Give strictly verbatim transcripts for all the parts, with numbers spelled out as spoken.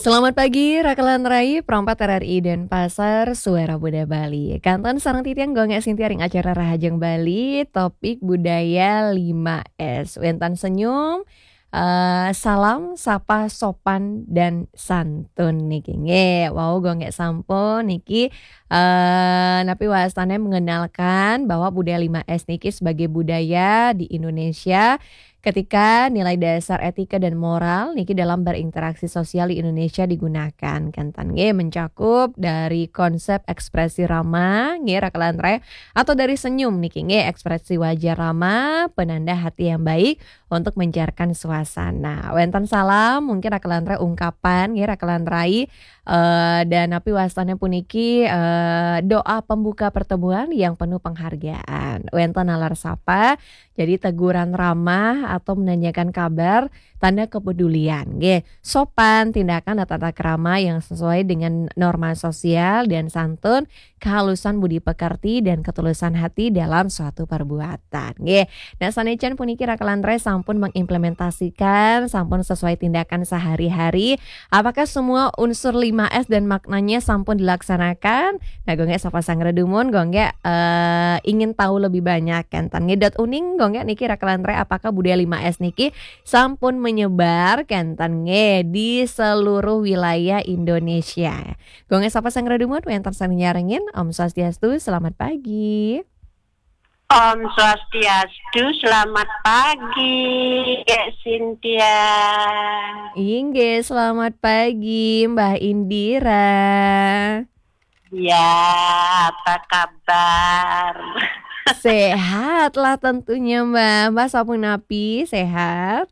Selamat pagi, Rakelan Rai, Perompat R R I Denpasar, Suara Buddha Bali. Kantan sareng titiang Gung Gek Sintia ring acara Rahajeng Bali, topik budaya lima S. Wénten senyum, eh, salam, sapa, sopan, dan santun niki. Nggih, wau Gung Gek sampun niki, eh, napi wastane mengenalkan bahwa budaya lima S niki sebagai budaya di Indonesia ketika nilai dasar etika dan moral niki dalam berinteraksi sosial di Indonesia digunakan. Kantan nggih mencakup dari konsep ekspresi ramah, nggih Rakelan Rai, atau dari senyum niki nggih ekspresi wajah ramah, penanda hati yang baik untuk mencairkan suasana. Wénten salam, mungkin Rakelan Rai ungkapan nggih Rakelan Rai, eh, dan napi wastane puniki, eh, doa pembuka pertemuan yang penuh penghargaan. Wénten nalar sapa, jadi teguran ramah atau menanyakan kabar, tanda kepedulian. Nggih, sopan, tindakan dan tata krama yang sesuai dengan norma sosial dan santun, kehalusan budi pekerti dan ketulusan hati dalam suatu perbuatan. Nggih. Nah, sané jan puniki Rakelan Rai sampun mengimplementasikan, sampun sesuai tindakan sehari-hari. Apakah semua unsur lima S dan maknanya sampun dilaksanakan? Nah, Gung Gek sapa sangredumun, Gung Gek, eh, ingin tahu lebih banyak, kantan nggih. Dot uning, Gung Gek niki Rakelan Rai, apakah budaya lima S niki sampun menyebar, kantan nggih, di seluruh wilayah Indonesia? Gung Gek sapa sangredumun, wénten sané nyarengin. Om Swastiastu, selamat pagi. Om Swastiastu, selamat pagi, Gek Sintia. Inggih, selamat pagi, Mbah Indira. Ya, apa kabar? Sehat lah tentunya, Mbah. Mbah sapunapi, sehat?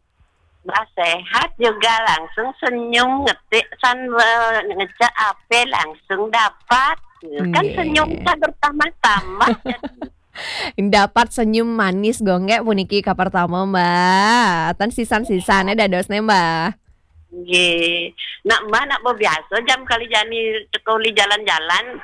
Mbah sehat juga, langsung senyum ngetik san, eh, ngecek A P langsung dapat. Kan nggih, senyum kan bertambah-tambah. Dapat senyum manis Gung Gek puniki kapertama, Mbah. Ten sisan-sisane dadosne, Mbah. Nggih. Nak Mbah nak biasa jam kali jani teka uli jalan-jalan.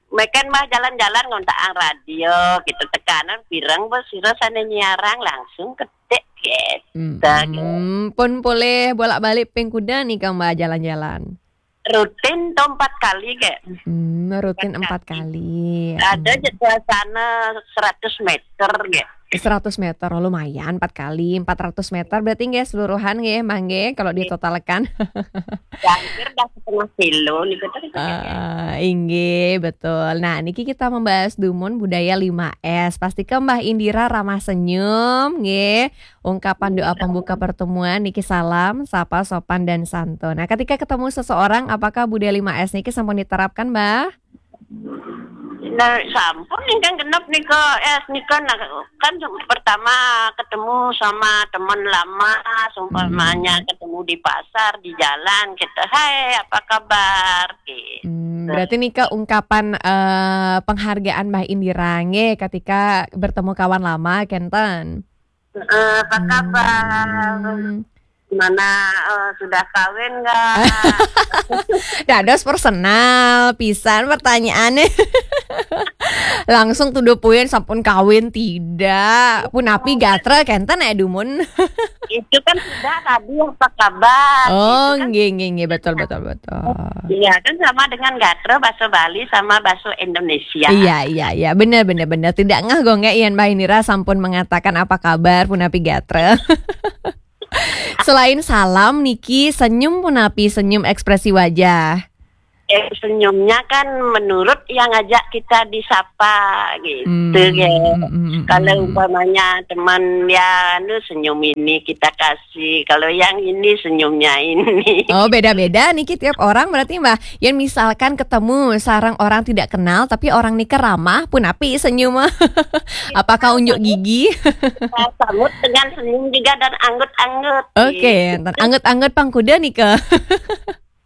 Meken Mbah jalan-jalan ngontak ang radio gitu, tekanan pireng bos sira sane nyiarang langsung ketik gitu. Mm-mm. Pun polih bolak-balik ping kuda nika Mbah jalan-jalan? Rutin to empat kali, Gek. Hmm, rutin empat kali. Ada je suasana seratus meter, Gek. Seratus meter, oh, lumayan, empat kali, empat ratus meter berarti nggih seluruhan nggih, Mbah nggih, kalau ditotalkan. Ya, hampir dah setengah kilo niku terus, Gek. Ah, inggih, betul. Nah, niki kita membahas dumun budaya lima S. Pastika Mbah Indira ramah senyum, nggih. Ungkapan doa pembuka pertemuan niki salam, sapa, sopan, dan santun. Nah, ketika ketemu seseorang, apakah budaya lima S niki sampun diterapkan, Mbah? Nah, sampun ingkang genep nika, S nika, nah, kan pertama ketemu sama teman lama, seumpamanya ketemu di pasar, di jalan, gitu. "Hai, apa kabar?" Gitu. Hmm, berarti nika ungkapan, eh, penghargaan Mbah Indira nggih ketika bertemu kawan lama, kenten? Heeh, apa kabar? Hmm. Gimana, eh, sudah kawin nggak? Dados personal pisan pertanyaannya. Langsung to the point, sampun kawin tidak? Punapi gatra kenten ya dumun? Itu kan sudah tadi, apa kabar? Oh, gitu kan. Nggih, nggih, nggih, betul, betul, betul. Iya, kan sama dengan gatra bahasa Bali sama bahasa Indonesia. Iya, iya, iya, benar, benar, benar. Tidak ngeh Gung Gek yen Mbah Indira sampun mengatakan apa kabar punapi gatra. Selain salam niki, senyum punapi, senyum ekspresi wajah? Eh, senyumnya kan menurut yang ngajak kita disapa gitu, hmm, ya. Hmm, hmm, hmm. Kalau umpamanya teman ya anu senyum ini kita kasih, kalau yang ini senyumnya ini. Oh, beda-beda niki tiap orang berarti, Mbah. Yang misalkan ketemu sareng orang tidak kenal tapi orang nika ramah, punapi senyum? Apakah unjuk gigi? Kita sambut dengan senyum juga dan anggut-anggut. Oke, gitu. Anggut-anggut pangkuda nika.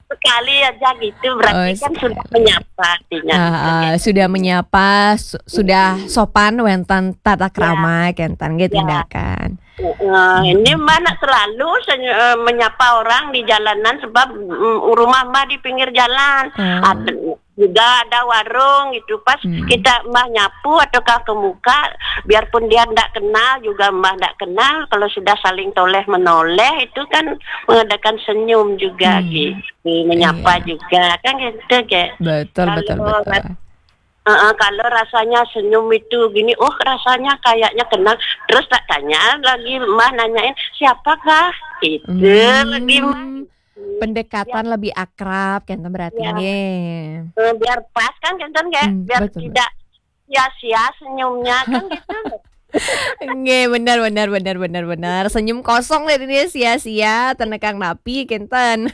Sekali aja gitu, berarti kan sudah menyapa artinya. Ah, ah, sudah menyapa, su-, sudah sopan wénten tata krama, kenten nggih tindakan. Heeh, ini Mbah nak selalu senyu-, eh, menyapa orang di jalanan sebab, mm, rumah Mbah di pinggir jalan. Hmm. Ada, Juga ada warung itu, pas kita mbah nyapu ataukah ke muka, biarpun dia ndak kenal juga, mbah ndak kenal, kalau sudah saling toleh menoleh itu kan mengadakan senyum juga, hmm, gitu, menyapa, iya, juga kan gitu, kayak. Betul, betul, kalau betul. Ras-, heeh, kalau rasanya senyum itu gini, oh, rasanya kayaknya kenal. Terus tak tanya lagi, mbah nanyain, "Siapakah?" Itu, hmm, lagi, mbah. Pendekatan, ya, lebih akrab, kan, berarti, ya, nggih. Eh, biar pas kan, kan, kan, kayak, hmm, biar betul, tidak sia-sia senyumnya, kan, gitu. Nggih, benar, benar, benar, benar, benar. Senyum kosong deh ini, sia-sia, tenekang napi, kinten.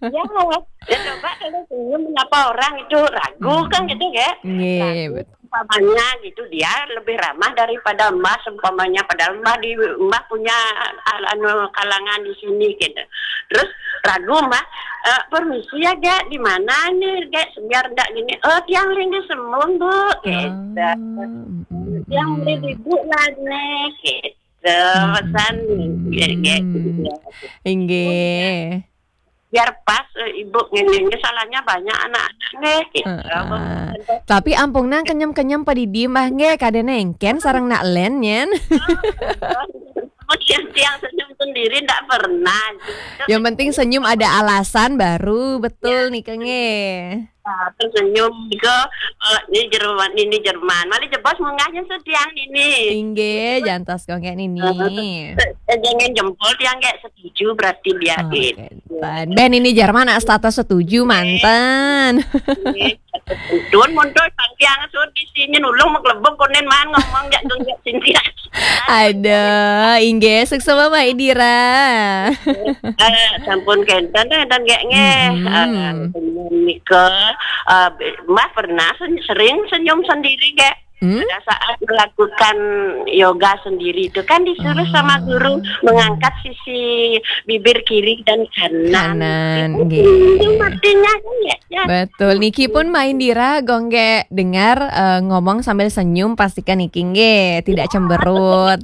Ya, ya, coba kalau senyum menyapa orang itu ragu, hmm, kan, gitu, ya. Nggih, ragu. Betul. Umpamanya gitu, dia lebih ramah daripada mbah, seumpamanya, padahal mbah di, mbah punya, al-, anu, kalangan di sini gitu. Terus ragu, mbah, "Eh, permisi ya, Gek, di mana nih, Gek?" Biar ndak gini, "Oh, tiang linggih semun, Bu," gitu. "Tiang linggih ibu lah nih," gitu. Pesan, Gek, gitu ya. Inggih. Biar pas, eh, ibu ngene, salahnya banyak anak-anak nggih, gitu. Heeh. Tapi ampung nang kenyem-kenyem padidi mbah nggih, kada nengken sareng nak len nyen. Oh, tiang-tiang senyum sendiri ndak pernah. Yang penting senyum ada alasan baru, betul, ya, nih, Kang, nggih. Nah, terus senyum ke, eh, ini Jerman, ini Jerman. Mali jebos munggahnya setiang ini. Inggih, jantos kok nggih nini. Eh, eh, jangan jempol tiang nggih. Setuju berarti dia, oh, gitu. Kenten. Ben ini Jerman nak status setuju manten. Dun muncul tangkiang sud di sini nulung maklebek konen man ngomong jak gunjak sintia. Ada, inggih, suksma Mbak Indira. Eh, sampun kenten, kenten gak nggih. Mm-mm. Eh, nika, eh, Mbak pernah sen-, sering senyum sendiri gak? Hmm? Pada saat melakukan yoga sendiri itu kan disuruh sama guru mengangkat sisi bibir kiri dan kanan. Kanan, itu nggih. Itu artinya kan ya, ya. Betul. Niki pun Mbak Indira gongge dengar, eh, ngomong sambil senyum, pastikan niki nggih tidak cemberut.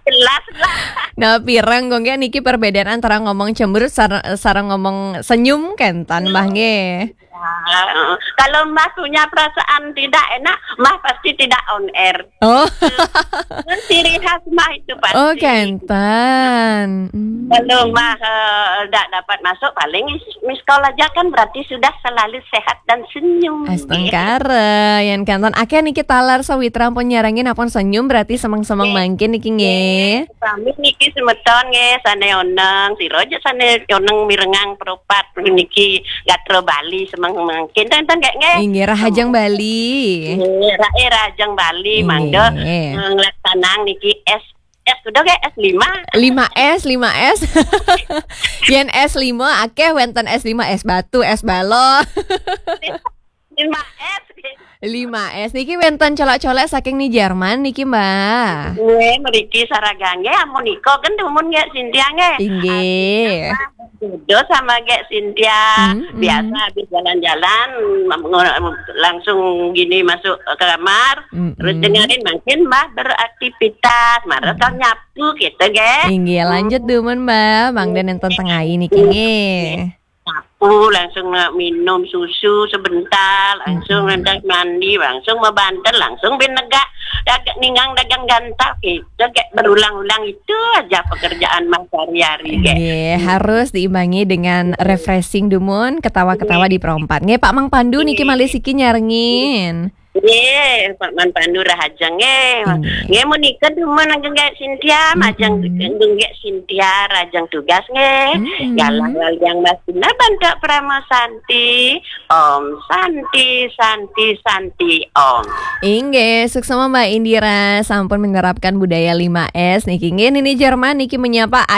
Jelas lah. Nah, pirang gongge niki perbedaan antara ngomong cemberut sar-, sareng ngomong senyum kenten, Mbah, nggih. Ya, heeh. Kalau Mbah punya perasaan tidak enak, Mbah pasti tidak on air. Oh. Itu ciri khas Mbah itu pasti. Oh, kenten. Hmm. Kalau Mbah, eh, tidak dapat masuk, paling is-, miss call aja kan berarti sudah selalu sehat dan senyum. Astungkara, yan kenten. Akeh niki taler sawitra pun nyarengin apun senyum berarti semeng-semeng mangkin niki nggih. Sami niki semeton nggih, sane oneng, sira aja sane oneng mirengang peropat niki gatra Bali semeng mangkin. Enten nggih nggih. Inggih, Rahajeng Bali. Nggih, ra-, eh, Rahajeng Bali, inggih, mangda, eh, nglaksanang niki S, S kudu nggih, S lima. Lima S, lima S. Yen S lima akeh wenten S lima, es batu, es balok. Lima S. Lima S. Niki wenten colek-colek saking ni Jerman niki, Mbak. Nggih, mriki saragane amun nika kan dumun nggih Sintia nggih. Inggih. Jodoh sama gek Sintia. Mm-mm. Biasa habis jalan-jalan, langsung gini masuk ke kamar, mm-mm, terus dengerin mungkin Mbah beraktivitas, marah, mm, nyapu gitu, gek. Inggih, lanjut dumun, Mbah. Mangda nenten tengai niki, nggih. Nyapu, langsung minum susu sebentar, langsung, mm-mm, nenten mandi, langsung mabanten, langsung bin negak dagang, ninggang dagang gantal gitu, kayak berulang-ulang itu aja pekerjaan Mbah sehari-hari, kayak. Nggih, harus diimbangi dengan refreshing dumun, ketawa-ketawa di perompat. Nggih, Pak Mang Pandu niki malih siki nyarengin. Nggih, Pak Mang Pandu rahajeng nggih. Nggih. Nggih, menika dumun ageng gek Sintia, majeng, mm-mm, ageng gek Sintia, rajeng tugas nggih. Mm-mm. Galah waliang Mbah Sina bantak Parama Santi. Om Santi, Santi, Santi, Om. Inggih, suksma Mbak Indira sampun menerapkan budaya lima S niki. Nggih, nini Jerman niki menyapa